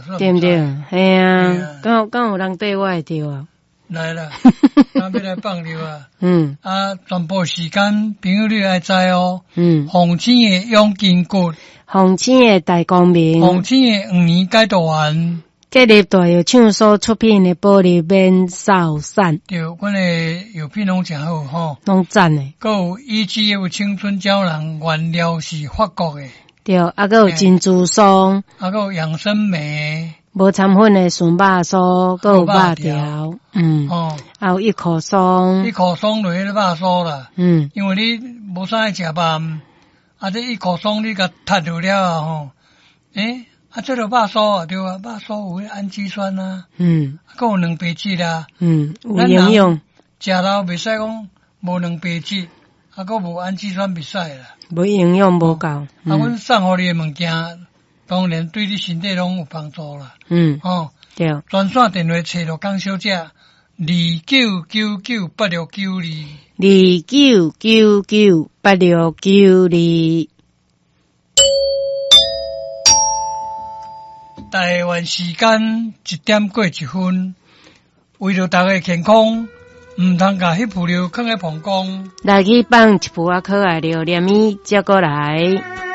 啦，對毋對？嘿啊，敢有人綴我會著啊？來啦，咱欲來放尿啊！啊，全部時間朋友你愛知哦。鳳青的養筋骨，鳳青的大光明，鳳青的黃連解毒丸，建立大藥廠所出品的保利免瘦散。對，阮的藥品攏誠好吼，攏讚的。閣有 EGF 青春膠囊，原料是法國的。對，啊，閣有珍珠霜，啊，閣有養生酶。無摻粉的純肉酥，閣有肉條，還有一口酥，一口酥就彼个肉酥啦，因為你無啥愛食肉，啊，這一口酥你共踢落了後吼，啊，這就肉酥啊，對啊，肉酥有彼氨基酸啊，閣有蛋白質啊，有營養，食了袂使講無蛋白質，啊，閣無氨基酸袂使啦，無營養無夠，啊，阮送予你的物件，當然對你身體攏有幫助啦。對。專線電話揣陸江小姐，29998692。29998692。台灣時間1點過1分，為著大家健康，毋通共彼浮尿囥佇膀胱。來去放一浮仔可愛尿，連伊接過來。